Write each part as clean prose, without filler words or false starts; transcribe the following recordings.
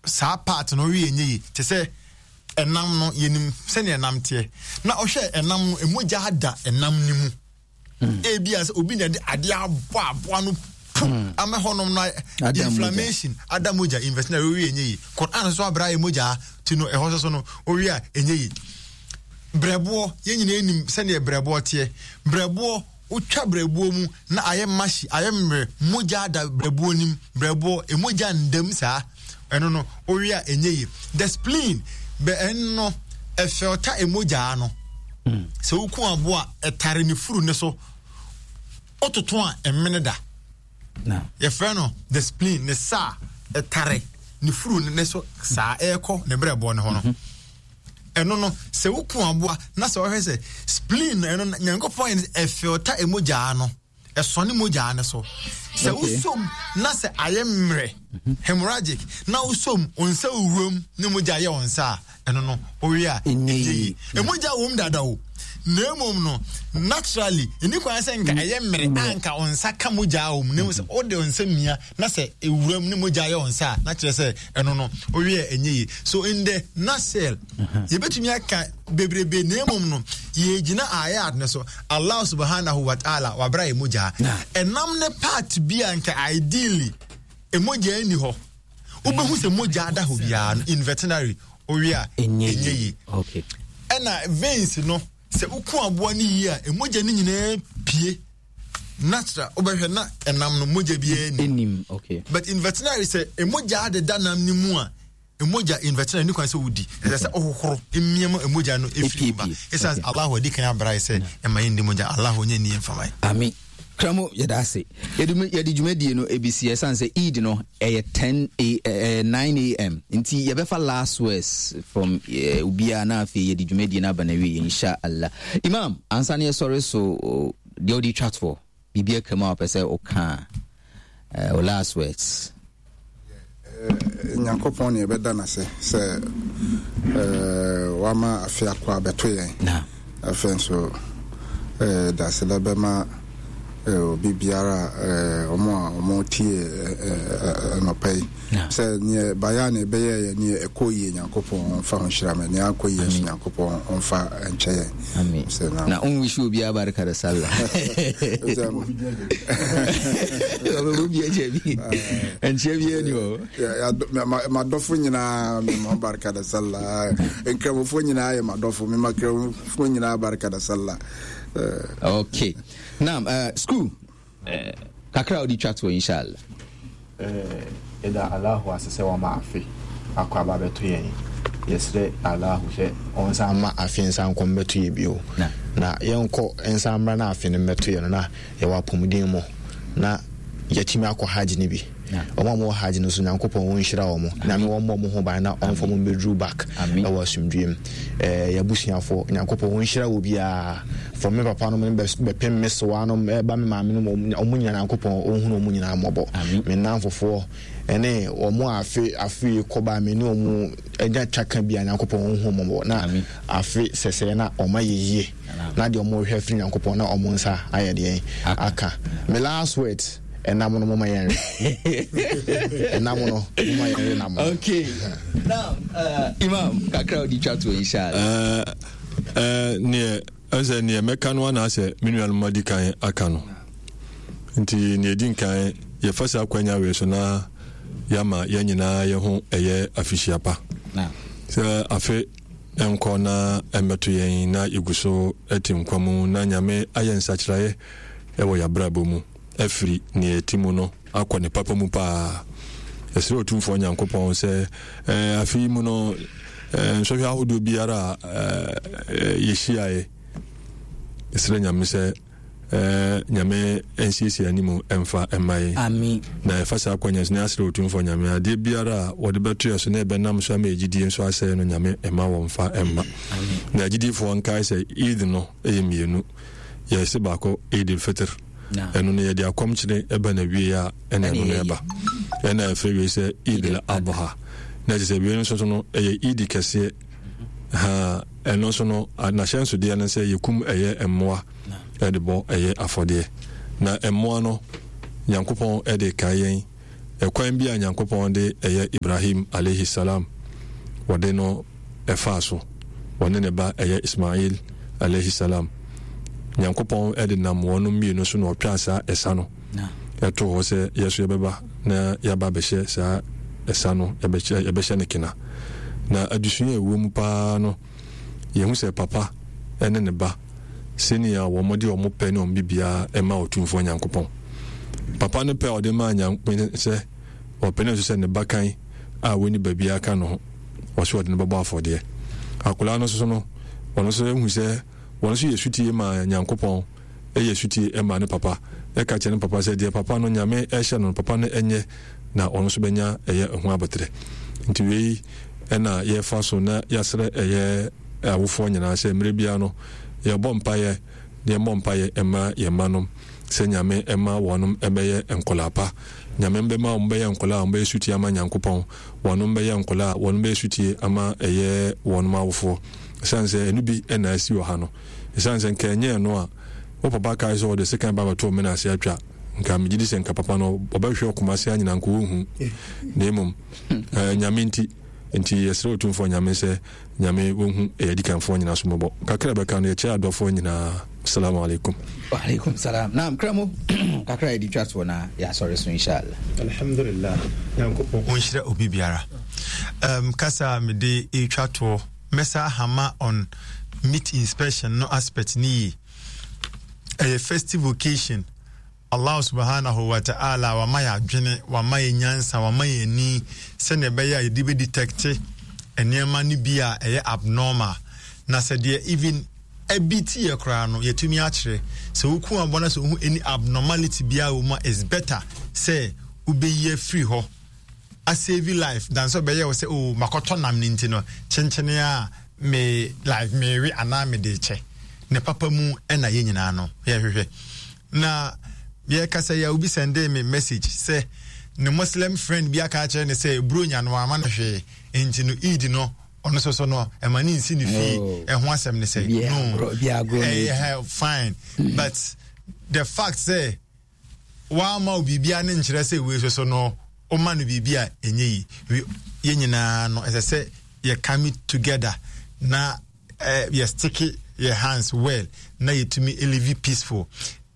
Saa part no ɔwe ɛnyɛ yie te sɛ ɛnam no yɛnim sɛnea ɛnam teɛ na ɔhwɛ ɛnam no ɛmogya ada ɛnam no mu hmm. ebi a sɛ obi na ɛde adeɛ abɔ aboa no pu hmm. ama hɔnom no inflammation ada mogya invest na ɔwe ɛnyɛ yie Quran nso abira yɛ mogya ti no ɛhɔ soso no ɔwe a ɛnyɛ yie brɛboɔ yɛn nyinaa nim sɛnea brɛboɔ teɛ brɛboɔ Wotwa berɛboɔ mu na ayɛ mahye, ayɛ mmerɛ, mogya ada berɛboɔ nim, berɛboɔ, mogya ndam saa. Ɛno no, wowe a ɛnyɛ yie. The spleen, bɛ ɛno no, ɛfɛlta mogyaa no. Hmm. Sɛ woku aboa a, ɛtare ne furu ne so. Wototo a, ɛmene da. Yɛfrɛ no the spleen, ne sa a ɛtare ne furu ne so saa ɛrekɔ ne berɛboɔ no ho no. Mm -hmm. Ɛno no, sɛ woku aboa na sɛ wɔhwɛ sɛ spleen no, ɛno no, Nyankopɔn yɛ no sɛ ɛfilta mogyaa no, ɛsɔne mogyaa no so. Sɛ wosom na sɛ ayɛ mmerɛ, mhm. hemorrhagic, na wosom wo nsa wuram ne mogya yɛ wo nsa a, ɛno no, wowe a, ɛnyɛ yie. Mogya wom dada o. Na mmom no, naturally, ɛni kwan sɛ nka ɛyɛ mmerɛ a nka wo nsa ka mogya wɔ mu. Na mmom sɛ wode wo nsa mia na sɛ ewuram ne mogya yɛ wɔn nsa a na kyerɛ sɛ ɛno no owie a ɛnyɛ yie so in the nutshell uh-huh. yɛbɛtumi aka bebrebe na mmom no yɛgyina ayat no so Allah subhanahu wa ta'ala wabra yɛ mogya ɛnam ne part bi a nka ideally mogya nni hɔ wobɛhu sɛ mogya da hɔ biara no in veterinary owie a ɛnyɛ yie ɛna veins no sɛ woku aboa no yie a mogya no nyinaa pie natural wobɛhwɛ na ɛnam no mogya biara nim okay. But in veterinary sɛ mogya adeda nam no mu a mogya in veterinary ne kwan sɛ wodi ɛsɛ sɛ wohohoro mmiam mogya no ɛfiri ba ɛsiane Allah adi kan abra sɛ ɛma yɛndi mogya Allah ɔnyɛ nni mfama. Amen. Kramo yɛda ase yɛde dwumadie no ɛbisi ɛsiane sɛ Eid no ɛyɛ 10 a, eh, 9 am nti yɛbɛfa last words from eh, obiara na afei yɛde dwumadie no aba no awie insha Allah. Imam ansa ne yɛsɔre so deɛ wode twa toɔ biribi aka mu a wɔpɛ sɛ woka a wo last words. Nyankopɔn ne yɛbɛda no ase sɛ wama afe akɔ abɛto yɛn. Afei nso daseda bɛma obi biara wɔn a wɔn tie anɔpa yi sɛ neɛ bayɛ a na ɛbɛyɛ yɛ neɛ ɛkɔ yie Nyankopɔn ɔmfa ho nhyira me neɛ ankɔ yie nso Nyankopɔn ɔmfa nkyɛ yɛn. Amen. Na on wish obiara barika da sallah. Obi akyɛ bi. Nkyɛ bi ani hɔ. Madɔfo nyinaa mema barika da sallah. Nkramofo nyinaa yɛ madɔfo. Mema kramofo nyinaa barika da sallah. Okay. Now, school. Eh, kakra a wode twa toɔ inshallah. Eh, yɛda Allahu ase sɛ wama afe akɔ aba abɛto yɛn. Yɛsrɛ Allahu sɛ ɔnsan mma afe nsan nkɔ mmɛto yɛ bio. Na yɛnkɔ nsan mmra na afe no mmɛto yɛ no na yɛwɔ apɔmuden mu na yɛatumi akɔ Hajj no bi. Wɔn a wɔwɔ Hajj no nso Nyankopɔn ɔnhyira wɔn. Nyame wɔmmɔ wɔn ho ban na ɔmfa wɔn mmɛduru back ɛwɔ asomdwoeɛ mu. Eh, yɛabusuafoɔ, Nyankopɔn ɔnhyira wɔ biara. From me papa nom bɛpem me sewa nom ɛba me maame nom wɔn nyinaa Nyankopɔn ɔnhunu wɔn nyinaa mmɔbɔ. Me nnamfofoɔ ɛne wɔn a afe afe yi kɔba me ne wɔn anya twaka bi a Nyankopɔn ɔnhu wɔn mmɔbɔ na afe sɛsɛɛ na wɔn ayɛ yie na deɛ wɔn rehwɛ afiri Nyankopɔn na wɔn nsa ayɛ deɛn aka. Me last words. Ɛnam no moma yɛnwe. Ɛnam no moma yɛnwe nam no. Okay. Now, Imam, kakra odi twa to inshallah. Neɛ ɛsɛ neɛ mɛka no anaasɛ me nuanom adi kan aka no. Nti neɛ ɛdi nkan yɛfa saa akwanya wei so na yɛama yɛn nyinaa yɛ ho ɛyɛ afihyia pa. Sɛ afe nkɔ na ɛmmɛto yɛn na yɛgu so te nkwa mu na Nyame ayɛ nsakyeraeɛ wɔ yɛabrabɔ mu afiri nea ɛte mu no akɔ ne papa mu paa. Yɛsrɛ Otumfoɔ Nyankopɔn sɛ eh, afe yi mu no eh, nsɔhwɛ ahodoɔ biara a eh, yɛhyiaeɛ, yɛsrɛ Nyame sɛ eh, Nyame nsiesie anim mfa mma yɛn. Amen. Na yɛfa saa kwanya so na yɛasrɛ Otumfoɔ Nyame adeɛ biara a wɔde bɛto yɛ so na ɛbɛnam so ama yɛgyidie nso asɛe no Nyame mma wɔmfa mma. Na agyidiefoɔ nkae sɛ Eid no yɛ mmienu. Yɛse baako Eid al-Fitr. Ɛno no yɛde akɔmkyene ɛba na wie a ɛna ɛno no ɛba. Ɛna ɛfrɛ wie sɛ Eid al-Adha. Na ɛkyɛ sɛ wie no nso so no ɛyɛ Eid kɛseɛ. Ha ɛno nso no n'ahyɛnsodeɛ no sɛ yɛkum ɛyɛ mmoa ɛde bɔ ɛyɛ afɔdeɛ. Na mmoa no Nyankopɔn ɛde kae yɛn. Ɛkwan bi a Nyankopɔn de ɛyɛ Ibrahim alaihi salam wɔde no ɛfaa so, wɔne ne ba ɛyɛ Ismail alaihi salam. Nyankopɔn de nam wɔnom mmienu so na ɔtwaa saa ɛsa no ɛtoo hɔ sɛ yɛso yɛbɛba na yɛaba abɛhyɛ saa ɛsa no, yɛbɛhyɛ no kena. Na adesua a ɛwɔ mu paa no, yɛhu sɛ papa ne ne ba, sɛnea wɔde wɔn pɛ ne wɔn biribiara ma Otumfoɔ Nyankopɔn. Papa no pɛ a ɔde maa Nyankopɔn sɛ ɔpene so sɛ ne ba kan a wɔnni ba biara ka ne ho, ɔsɛ ɔde no bɛbɔ afɔdeɛ. Akwadaa no nso no, ɔno nso ehu sɛ wɔn nso yɛ sutie ma Nyankopɔn, ɛyɛ sutie ma ne papa, ɛka kyerɛ ne papa sɛ deɛ papa no Nyame ɛhyɛ no, papa no ɛnyɛ na ɔno nso bɛnya ɛyɛ ɛho aboterɛ. Nti wei ɛna yɛfa so na yɛasrɛ ɛyɛ awofoɔ nyinaa sɛ mmerɛ biara no yɛbɔ mpaeɛ na yɛmmɔ mpaeɛ ɛma yɛn mma nom sɛ Nyame ɛma wɔnom ɛbɛyɛ nkɔlaa pa. Nyame bɛma wɔn bɛyɛ nkɔlaa a wɔn bɛyɛ sutie ama Nyankopɔn, wɔnom bɛyɛ nkɔlaa a wɔnom bɛyɛ sutie ama ɛyɛ wɔnom awofoɔ. Ɛsiane sɛ ɛno bi ɛna asi wɔ ha no. Ɛsiane sɛ nka ɛnyɛ ɛno a, wo papa kae sɛ ɔde sekan ba bɛto wo mene ase atwa, nka megye di sɛ nka papa no ɔbɛhwehwɛ wo Kumasi anyina nka ɔnhu. Na mmom, eh, Nyame nti, nti yɛsrɛ Otumfoɔ Nyame sɛ Nyame wɔnhu ɛyɛ adikanfoɔ nyinaa so mmɔbɔ. Kakra ɛbɛka no, yɛkyɛ adɔfoɔ nyinaa. Assalamu alaikum. Wa alaikum salam. Naam, Kramo, kakra yɛde twa toɔ na yɛasɔre so inshallah. Alhamdulillah, Nyankopɔn ɔnhyira obi biara. Um, kasa a mede retwa toɔ, mɛsa ahama on meat inspection no aspect ne yie. Ɛyɛ festive occasion. Allah subhanahu wa ta'ala wama yɛ adwene, wama yɛ nyansa, wama yɛ ani sɛnea ɛbɛyɛ a yɛde bɛ detecte nneɛma no bi a ɛyɛ abnormal. Na sɛ deɛ even ɛbi ti yɛ koraa no yɛtumi akyerɛ sɛ woku aboa no sɛ wohu any abnormality biara wɔ mu a it's better sɛ wobɛyi afiri hɔ asave life than sɛ ɔbɛyɛ wo sɛ oh makɔtɔ nam no nti no kyenkyene a me like mewe anaa mede kyɛ ne papa mu ɛna yɛ nyinaa no yɛhwehwɛ na yɛkasa yi a obi sɛndee me message sɛ ne muslim friend bi aka akyerɛ ne sɛ buronya no ama no hwee nti no eid no ɔno soso no ɛma ne nsi ne fie oh. ɛho asɛm ne sɛ no ɛyɛ fine but the fact sɛ wamma wo biribiara ne nkyerɛ sɛ wei soso no woma no biribi a ɛnyɛ yi yɛn nyinaa no ɛsɛ sɛ yɛ come together na eh, yɛ stick yɛ hands well na yɛtumi live peaceful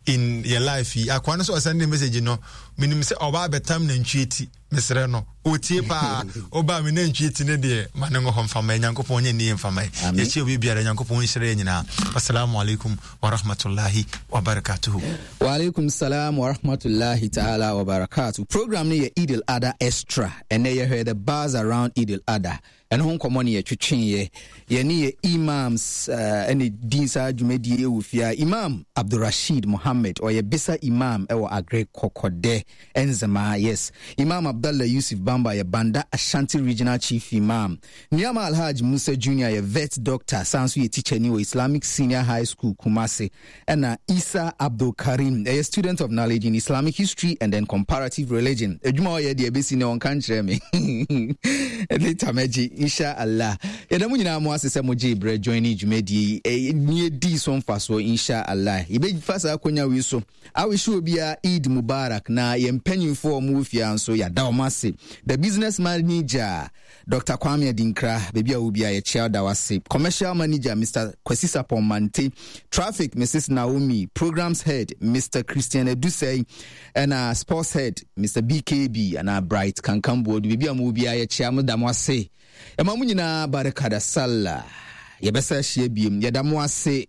in yɛ life yi akoa no sɛ ɔsɛn ne message no menim sɛ ɔba abɛtam nantwie ti mesrɛ no ɔtie paa ɔba me nantwie ti ne deɛ ma ne ngɔ hɔ mfama nyankopɔn nyɛ nnie mfama yɛkyia obi biara nyankopɔn nhyira yɛ nyinaa assalamu alaikum warahmatullahi wabarakatuhu Waalaikum salam warahmatullahi ta'ala wabarakatuh. Program no yɛ Eid al-Adha Extra. Ɛnɛ yɛhwɛ the buzz around Eid al-Adha. Ɛno ho nkɔmmɔ ne yɛtwetweeɛ. Yɛne yɛ imams eh, ɛne din saa dwumadie wɔ fie a Imam Abdulrasheed Mohammed ɔyɛ Bisa Imam ɛwɔ Agre Kɔkɔdɛ Nzemaa. Yes. Imam Abdallah Yusuf Bamba yɛ Banda Ashanti Regional Chief Imam. Nuama Alhaj Musa Junior yɛ vet doctor san so yɛ tikyani wɔ Islamic Senior High School Kumasi. Ɛna Isa Abdul Karim ɛyɛ student of knowledge in Islamic history and then comparative religion. Adwuma ɔyɛ deɛ ɛbɛsi ne ɔnka nkyerɛ me. Later mɛgye insha Allah. Yɛda mo nyinaa mo ase sɛ mo gyee berɛ join ne dwumadie yi. Ne yɛdii so mfasoɔ insha Allah. Yɛbɛfa saa akonya wei so awish obiara Eid Mubarak na yɛn mpanyinfoɔ a wɔwɔ fie nso yɛada wɔn ase. The business manager Doctor Kwame Adinkra, baabi a wɔ biara yɛkyia wo da wo ase. Commercial Manager, Mister Kwasi Sapon Mante, Traffic, Mrs. Naomi, Programs Head, Mister Christian Adusei, ɛna Sports Head, Mister BKB anaa Bright Kankan Boadu. Baabi a mo wɔ biara yɛkyia mo da mo ase. Ɛma mo nyinaa barikada sallah. Yɛbɛsa ahyia biem. Yɛda mo ase.